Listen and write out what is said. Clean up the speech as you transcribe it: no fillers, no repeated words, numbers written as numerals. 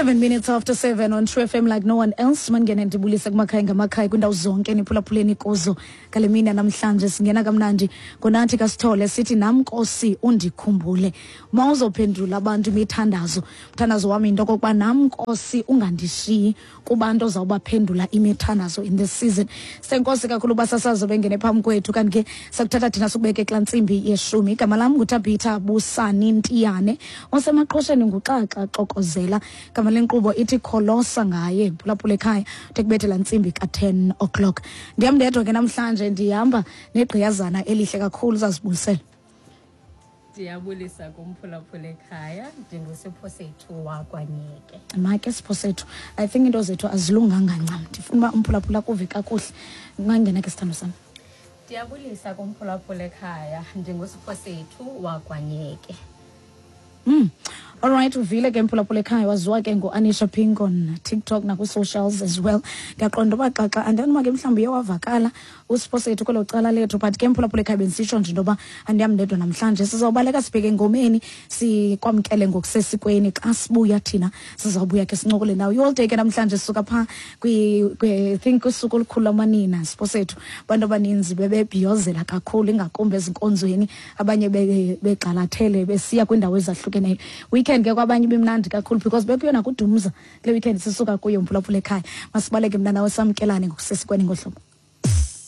7 minutes after 7 on True FM like no one else. Mangene ndibulise kumakhaya ngamakhaya, kwindawo zonke niphulaphuleni kuzo ngale mini namhlanje. Singena kamnandi ngoNathi kaSithole, sithi "Nam Nkosi undikhumbule". Uma uzophendula abantu imithandazo, mthandazo wami into okokuba nam Nkosi ungandishiyi kubantu ozawubaphendula imithandazo in this season. Senkosi kakhulu basasazo bengene phambi kwethu, kanti ke sakuthatha thina sikubeke kulaa ntsimbi yeshumi. Igama lam nguTabitha Busani Ntiyane, osemaqhosheni nguXaxa Xokozela. Igama lenkqubo ithi Kholosa Ngaye. Phulaphula ekhaya de kubethe laa ntsimbi ka-10 o'clock. Ndihamba ndedwa ke namhlanje, ndihamba negqiyazana elihle kakhulu, uzazibulisela. Ndiyabulisa kumphulaphula ekhaya, ndinguSiphosethu wakwaNyeke. Make Sipho sethu, I think into zethu azilunganga ncam. Ndifuna uba umphulaphula kuve kakuhle. Ungangena ke, sithando sam. Ndiyabulisa kumphulaphula ekhaya, ndinguSiphosethu wakwaNyeke. Alright, uvile ke mphulaphula ekhaya, waziwa ke ngo-Anisha Pink on TikTok nakwi-socials as well. Ndiyaqonda uba xaxa andani ke mhlawumbi uye wavakala uSipho sethu kwelo cala lethu, but ke mphulaphula ekhaya, bendisitsho nje into yoba andiham ndedwa namhlanje. Sizawubaleka sibheke engomeni, sikwamkele ngokusesikweni. Xa sibuya thina sizawubuya ke sincokole nawe i-all ke namhlanje. Sisuka phaa I think usuku olukhulu lamanina, Sipho sethu, abantu abaninzi bebebhiyozela kakhulu, ingakumbi ezinkonzweni, abanye begxalathele besiya kwiindawo ezahlukeneyo. Weekend ke kwabanye ibimnandi kakhulu because bekuyona kudumza kule weekend sisuka kuyo. Mphulaphula ekhaya, masibaleke mna nawe, samkelane ngokusesikweni ngohlobo.